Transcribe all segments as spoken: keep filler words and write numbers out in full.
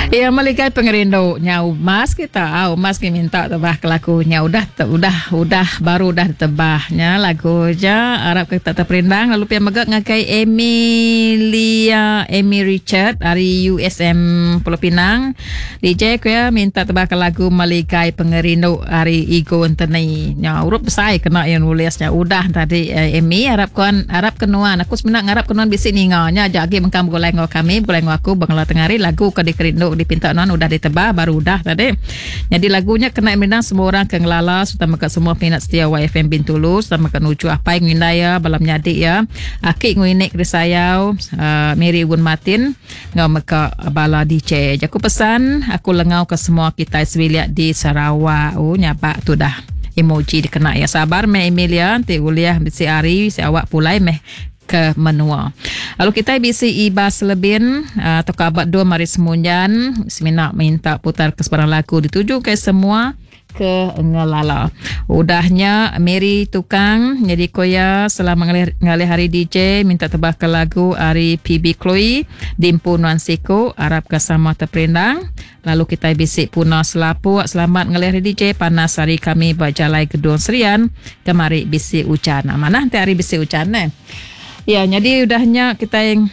Ya meligai pengerindu nyau mas kita au mas ke minta tebah ke lagu nya udah te, udah udah baru udah tebahnya lagu ja arap kita terperindang lalu pia mega ngagai Emilia Amy Richard dari U S M Pulau Pinang D J ku ya minta tebah ke lagu Meligai Pengerindu hari Igo Anthony nya urup besai kena yang nulisnya udah tadi Amy arap kuan arap kenuan aku sebenarnya ngarap kenuan bisi ninga nya aja agi mengkang begulai ngau kami begulai ngau aku bangla tengari lagu ke dikerindu dipinta nuan udah ditebah baru udah tadi. Jadi lagunya kena merindang semua orang ke ngelala serta mega semua peminat setia Y F M Bintulu serta mega nuju apai ngindai ya balam nyadi ya. Aki nguinik risayau uh, Mary Gun Martin ngau mega bala D J. Jaku pesan aku lengau ke semua kita sebilik di Sarawak. Oh nyabak tu dah emoji dikena ya. Sabar meh Emilia nanti uliah bisi hari si awak pulai meh ke menua. Lalu kita bisi Ibas Lebin atau kabat dua mari semunjan semina minta putar ke sebarang lagu dituju ke semua ke ngelala. Udahnya Mary Tukang jadi koya selama ngalih, ngalih hari D J minta tebah ke lagu ari P B Chloe Dimpu Nuan Siku arap ke sama terperindang. Lalu kita bisi Puna Selapuk selamat ngalih hari D J panas hari kami berjalai Gedung Serian kemari bisi hujan. Mana nanti hari bisi hujan eh. Ya, jadi udahnya kita yang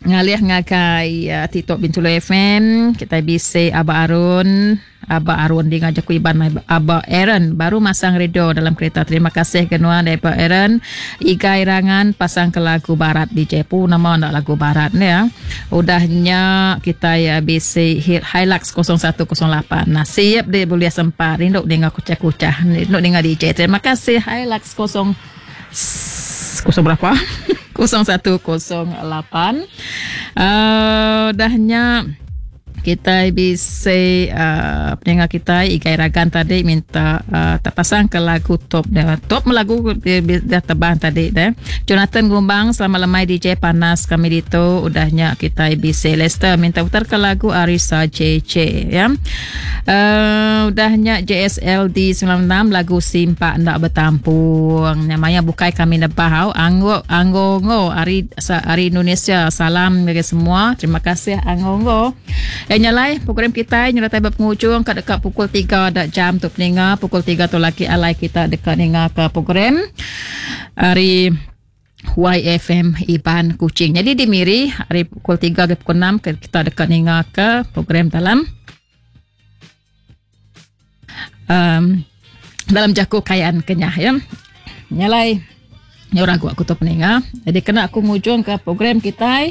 ngalih ngagai uh, TikTok Bintulu F M, kita bisi Abah Arun, Abah Arun di ngajak Iban Abah Aaron baru masang radio dalam kereta. Terima kasih kenuan daripada Aaron. Igai Rangan pasang ke lagu barat di Jepu nama nak lagu barat ni ya. Udahnya kita ya bisi hit Hilux kosong satu kosong lapan. Nah, siap dia boleh sempat rinduk dengar kucah-kucah, rinduk dengar D J. Terima kasih Hilux kosong kosong berapa? kosong satu kosong lapan. Uh, dahnya kita bisa uh, pendengar kita Igai Ragan tadi minta uh, tak pasang ke lagu top dia. Top lagu dia, dia tebang tadi deh. Jonathan Gumbang selamat lemai D J panas kami ditu. Udahnya kita bisa Lester minta putar ke lagu Arisa J J ya. Uh, udahnya J S L D sembilan enam lagu Simpak Ndak Bertampung. Namanya bukai kami nebah Anggo Anggo Ngo ari ari Indonesia. Salam bagi semua. Terima kasih Anggo Ngo. Eh nyalai program kita nyertai berpenghujung kat dekat pukul tiga dak jam tu peninga pukul tiga tu lagi alai kita dekat ninga ke program hari Y F M Iban Kuching. Jadi di Miri hari pukul tiga ke pukul enam kita dekat ninga ke program dalam um, dalam jaku kayaan kenyah ya. Nyalai nyorang aku tu peninga. Jadi kena aku ngujung ke program kita